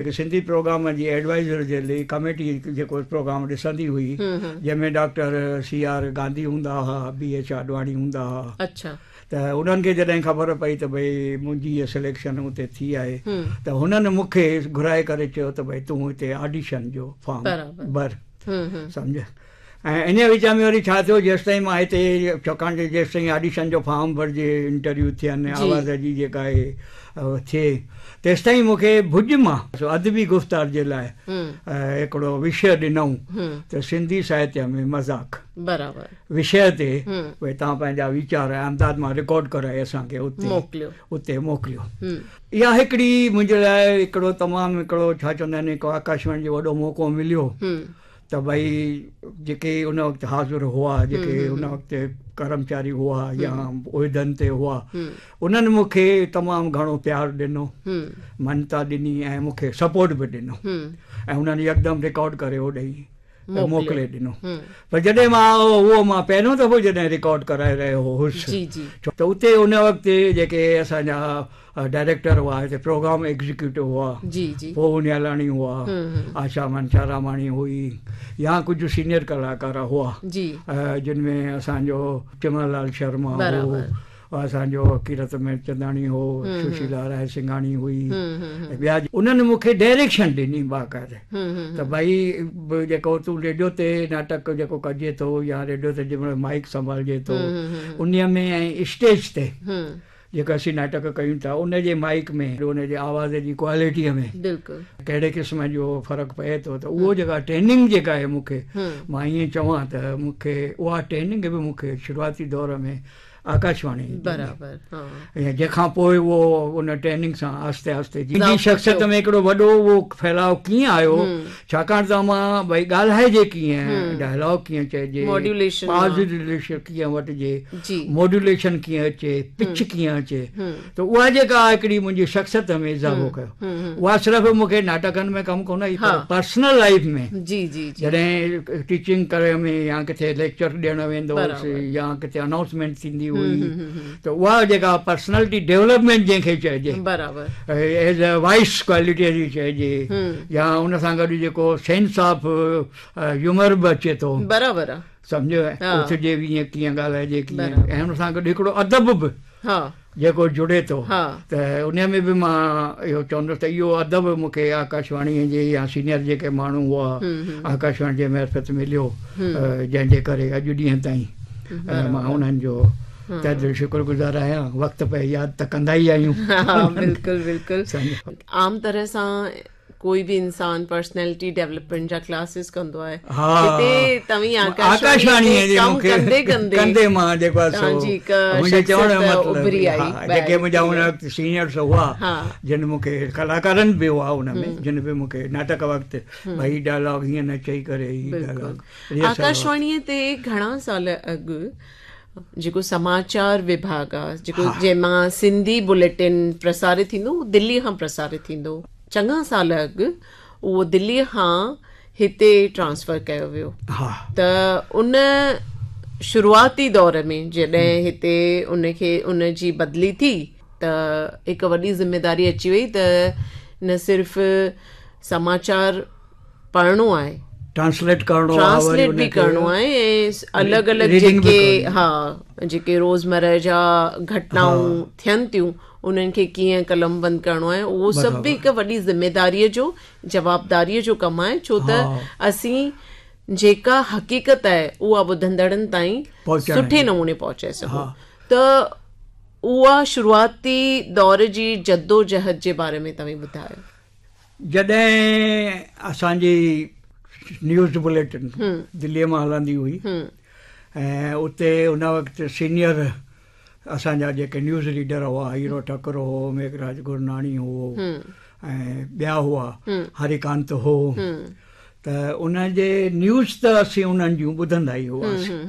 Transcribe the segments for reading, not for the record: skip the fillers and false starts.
هڪ سنڌي پروگرام جي ايڊوائيزر جي لئي ڪميٽي جيڪو پروگرام ڏسندي هئي جنهن ۾ ڊاڪٽر سي آر گانڌي هوندا هئا بي ايڇ آڏواڻي هوندا هئا اڇا ته انهن کي جڏهن خبر پئي ته ڀئي منهنجي هيء سليڪشن اتي ٿي آهي ته هنن مون کي گهرائي ڪري چيو ته ڀئي تون هتي آڊيشن جو فارم ڀر سمجهه ۽ انهيء وچ ۾ وري ڇا ٿيو جيستائين مان هتي ڇاڪاڻ جو جيستائين آڊيشن جو فارم ڀرجي انٽرويو ٿين آواز جي جيڪا آهي ٿئي تيستائين مون کي ڀڄ مان ادبي گفتار جي لاء هڪڙو وشيه ڏنائون ته سنڌي ساهتيه ۾ مذاق برابر وشيه تي ڀئي توهان پنهنجا ويچار احمدآباد مان رڪارڊ ڪرائي اسان کي اتي موڪليو اتي موڪليو اها هڪڙي منهنجي لاء هڪڙو تمام هڪڙو ڇا چوندا آهن هڪ آڪاشواڻي جو وڏو موقعو مليو ته ڀئي جيڪي ان وقت حاضر هئا، جيڪي ان وقت ڪرمچاري هئا يا عهدن تي هئا، انهن مون کي تمام گهڻو پيار ڏنو، مڃتا ڏني ۽ مون کي سپورٽ به ڏنو ۽ انهن يڪدم رڪارڊ ڪري هوڏي موڪلي ڏنو. پر جڏهن مان اهو مان پهريون دفعو جڏهن رڪارڊ ڪرائي رهيو هوس ته اتي ان وقت جيڪي اسان جا ڊائريڪٽر هئا هتي پروگرام ايگزيڪيوٽو هئا جي جي پوهو نيالاڻي هئا آشا منشاراماڻي هئي يا ڪجهه سينيئر ڪلاڪار هئا جي جن ۾ اسان جو چمن لال شرما هو اسان جو ڪيرت ميرچنداڻي هو سشيلا راء سنگهاڻي هئي ۽ ٻيا انهن مون کي ڊائريڪشن ڏني باقاعده ته ڀائي جيڪو تون ريڊيو تي ناٽڪ جيڪو ڪجي ٿو يا ريڊيو تي جنهن مهل مائيڪ سنڀالجي ٿو انهي ۾ ۽ اسٽيج تي جيڪا اسين ناٽڪ ڪيون ٿا ان جي مائيڪ ۾ ان جي آواز جي ڪوالٽيء ۾ بلڪل ڪهڙي قسم جو فرق پئي ٿو ته اهو جيڪا ٽريننگ جيڪا آهي مون کي مان ائين چوان ته مون کي اها ٽريننگ به مون کي شروعاتي دور ۾ آڪاشواڻي برابر ها ۽ جنهن کان پوء اهو ان ٽريننگ سان آهستي آهستي جي شخصيت ۾ هڪڙو وڏو اهو ڦهلاء ڪيئن آيو ڇاڪاڻ ته مان ڀئي ڳالهائجي ڪيئن ڊائلاگ ڪيئن چئجي ماڊيوليشن ڪيئن وٺجي موڊيوليشن ڪيئن اچي، پچ ڪيئن اچي ته اها جيڪا هڪڙي منهنجي شخصيت ۾ اضافو ڪيو اها صرف مون کي ناٽڪن ۾ ڪم ڪونه آئي پر پرسنل لائيف ۾ جڏهن ٽيچنگ ڪرڻ ۾ يا ڪٿي ليڪچر ڏيڻ ويندو هوس يا ڪٿي انائونسمينٽ ٿيندي هئي ته اها جيڪا پرسنالٽي ڊولپمينٽ جنهن کي چئجي ايز اي وائس ڪوالٽي جي چئجي يا ان سان گڏ جيڪو سينس آف هيومر به اچي ٿو برابر سمجهيو اٿجي به ائين ڪيئن ڳالهائجي ڪيئن ۽ ان سان گڏ هڪڙو ادب به جيڪو جڙي ٿو ته ان ۾ به مان اهو چوندس ته اهو ادب مون کي آڪاشواڻي جي يا سينيئر جيڪي ماڻهو هئا آڪاشواڻي جي معرفت مليو جنهن جي ڪري اڄ ڏينهن تائين مان انهن جو تهه دل شڪر گذار آهيان وقت پئي ياد ته ڪندا ئي آهيون. بلڪل بلڪل عام طرح سان ڪوئي به انسان پرسنالٽي ڊيولپمينٽ جا ڪلاسز ڪندو آهي هتي توهين آڪاشواڻي تي ڪم ڪندي ڪندي ڪندي مان جيڪو آهي سو منهنجي چوڻ جو مطلب اڀري آئي جيڪي منهنجا ان وقت سينيئرس هئا جن مون کي ڪلاڪارن به هئا ان ۾ جن به مون کي ناٽڪ وقت ڀئي ڊائلاگ هيئن نه چئي ڪري هي ڊائلاگ آڪاشواڻي تي گهڻا سال اڳ جيڪو سماچار وڀاڳ آ جيڪو جنهن مان سنڌي بليٽن پرسارت ٿيندو دلي کان پرسارت ٿيندو چڱا سال اڳ اهو دلي کان هتي ٽرانسفر ڪيو ويو ته ان شروعاتي دور ۾ جڏهن هتي ان کي ان جي بدلي ٿي ته هڪ وڏي ذميداري اچي وئي ته نه صرف سماچار پڙهڻو آهي ٽرانسليٽ ڪرڻو آهي ٽرانسليٽ به ڪرڻو آهي ۽ الڳ الڳ جيڪي ها جيڪي روزمره جا گهٽنائون ٿين ٿيون انهن کي ڪيئن قلم بند ڪرڻو آهي اهو سڀ به هڪ وڏي ذميداريء جو جوابداريء جو ڪم آهي ڇو ته اسين جيڪا حقيقت آهي اها ٻڌندڙن تائين سٺي نموني پهچائي سگهون ته اها شروعاتي دور جي جدوجهد جي باري ۾ توهين ٻڌايو. جڏهن اسان جي نيوز بليٽن دليء مان هلندي هئي ۽ اتي ان وقت سينيئر اسان جا جيڪي نيوز ريڊر هئا هيرو ٺڪر هو، ميگهراج گرناڻي هو ۽ ٻيا هئا، هريڪانت هو ته ان جي نيوز ته اسين انهن جون ٻڌندا ئي هئاسين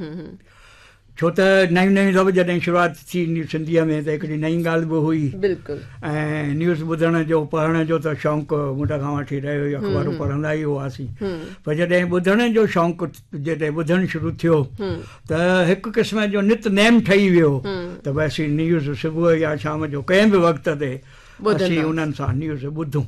ڇو ته نيون نيون دفعو جڏهن شروعات ٿي سنڌيء ۾ ته هڪڙي نئين ڳالهه به هئي بلڪل ۽ نيوز ٻڌڻ جو پڙهڻ جو ته شوق منڍ کان وٺي رهيو ئي اخبارون پڙهندا ئي هئاسين پر جڏهن ٻڌڻ جو شوق جڏهن ٻڌڻ شروع ٿيو ته هڪ قسم جو نت نيم ٺهي ويو ته ڀئي اسين نيوز صبح يا شام جو ڪنهن به وقت تي اسين انهن سان نيوز ٻڌون.